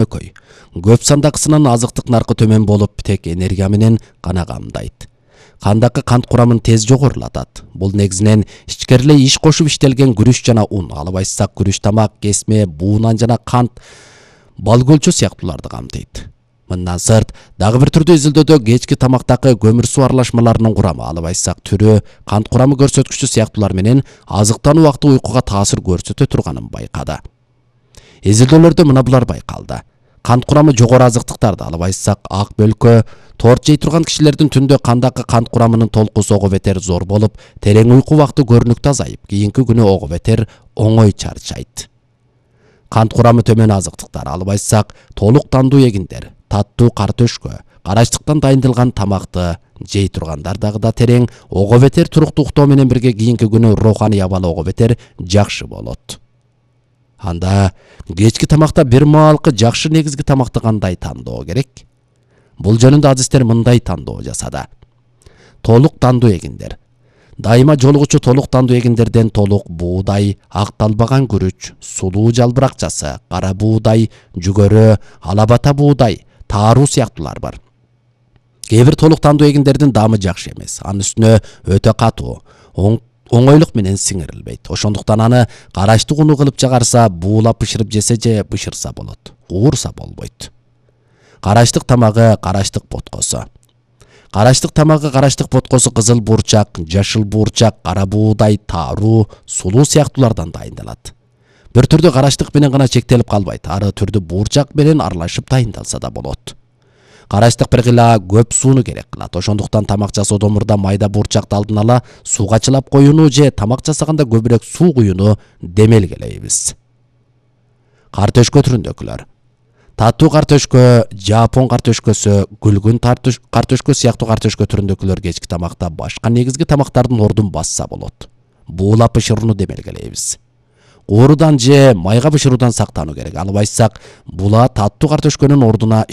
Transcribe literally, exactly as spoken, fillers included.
Экөй. Көп сандакысынын азыктык наркы төмөн болуп, тек энергия менен гана камдайт. Кандакы кант курамын тез жогорулатат. Бул негизинен ичкериле иш кошуп иштелген күрүч жана ун, алып айтсак күрүч тамак, кесме, буунан жана кант, бал көлчө сыяктууларды камтыйт. Мындан сырт, дагы бир түрдүү изилдөөдө кечки тамактагы көмүр суу аралашмаларынын курамы, алып айтсак түрү, кант курамы көрсөткүчү сыяктуулар менен азыктануу убакыты уйкуга таасир көрсөтө турганын байкады. Изилдөөлөрдө мына булар байкалды. Кант курамы жогору азыктыктарды, алып айтсак ак бөлкө, торт жей турган кишилердин түндө кандакы кант курамынын толкусу ого бетер зор болуп, терең уйку убакыты көрүнүктүү азайып, кийинки күнү ого бетер оңой чарчайт. Кант курамы төмөн азыктыктар, алып айтсак толук тандуу эгиндер, таттуу картөшкө, карачтыктан дайындалган тамакты жей тургандар дагы да терең, ого бетер туруктуу уктоо менен бирге кийинки күнү руханий абалы ого бетер жакшы болот. Анда кечки тамакта бир маалкы жакшы негизги тамакты кандай тандоо керек? Бул жөнүндө адистер мындай тандоо жасады. Толук тандуу эгиндер. Дайыма жолугучу толук тандуу эгиндерден толук буудай, акталбаган күрүч, сулуу жалбыракчасы, кара буудай, жүгөрү, алабата буудай, тааруу сыяктуулар бар. Кээ бир толук тандуу эгиндердин даамы жакшы эмес. Анын үстүнө өтө катуу, оңойлук менен сиңирилбейт. Ошондуктан аны карачтык уну кылып жагарса, буулап бышырып жесе же бышырса болот. Уурса болбойт. Карачтык тамагы карачтык боткосу. Карачтык тамагы карачтык боткосу кызыл буурчак, жашыл буурчак, кара буудай, тааруу, сулуу сыяктуулардан дайындалат. Бир түрдүү карачтык менен гана чектелип калбайт. Ары түрдүү буурчак менен аралашып дайындалса да болот. Карачтык бир кыйла көп сууну керек кылат. Ошондуктан тамак жасоодо мурда майда буурчакты алдын ала сууга чылап коюуну же тамак жасаганда көбүрөөк суу куюуну демелгелейбиз. Картөшкө түрүндөгүлөр. Таттуу картөшкө, жапон картөшкөсү, күлгүн картөшкө сыяктуу картөшкө түрүндөгүлөр кечки тамакта башка негизги тамактардын ордун басса болот. Буулап бышырууну демелгелейбиз. Оорудан же майга бышыруудан сактануу керек. Алып айтсак, була таттуу картөшкөнүн ордуна